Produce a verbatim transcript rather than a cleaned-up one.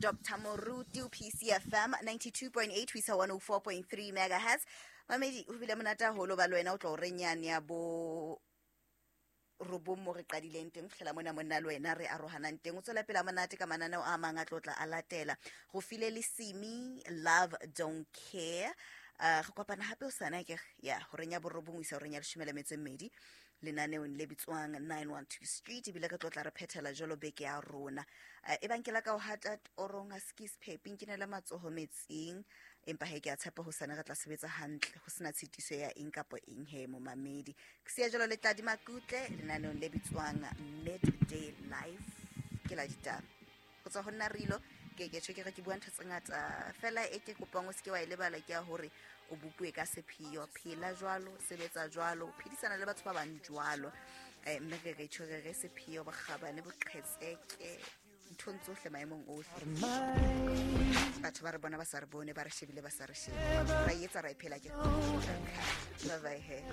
Doctor Moruti P C F M ninety-two point eight ho isa one oh four point three megahertz. Mamedi, ho bile monate haholo ba le wena o tlo re nyane ya bo robong mo re qadileng teng fihlela mona monna le wena re arohanang teng. O tswela pele monate ka mananeo a mang a tlo tla a latela go file le simi love don't care. uh, re kopana hape o sana ke ya horeng ya borobong ho isa horeng ya leshome le metso e mmedi lenaneong le bitswang nine one two Street, ebile re tlo tla re phethela jwalo beke ya rona. uh, e bang ke la ka o hata torong a ske sephepi nkinele matsoho metsing, empa he ke a tshepa ho sane re tla sebetsa hantle ho sena tshitiso ya eng kapo eng. He momamedi, ke siya jwalo le Tladi Makutle lenaneong le bitswang Midday Life ke la ditaba ho tswa ho nna rilo ke ke tjho ke re ke bua ntho tse ngata fela e ke kopang o seke wa e lebala ke ya hore o bopuwe ka sepheo. Phela jwalo, sebetsa jwalo, phedisana le batho ba bang jwalo, um mme re re tjho re re sepheo, bokgabane, boqhetseke nthong tsohle, maemong ohle. Batho ba re bona ba sa re bone, ba re shebile ba sa re shebe, ra e etsa, ra e phela ke. Bye bye he.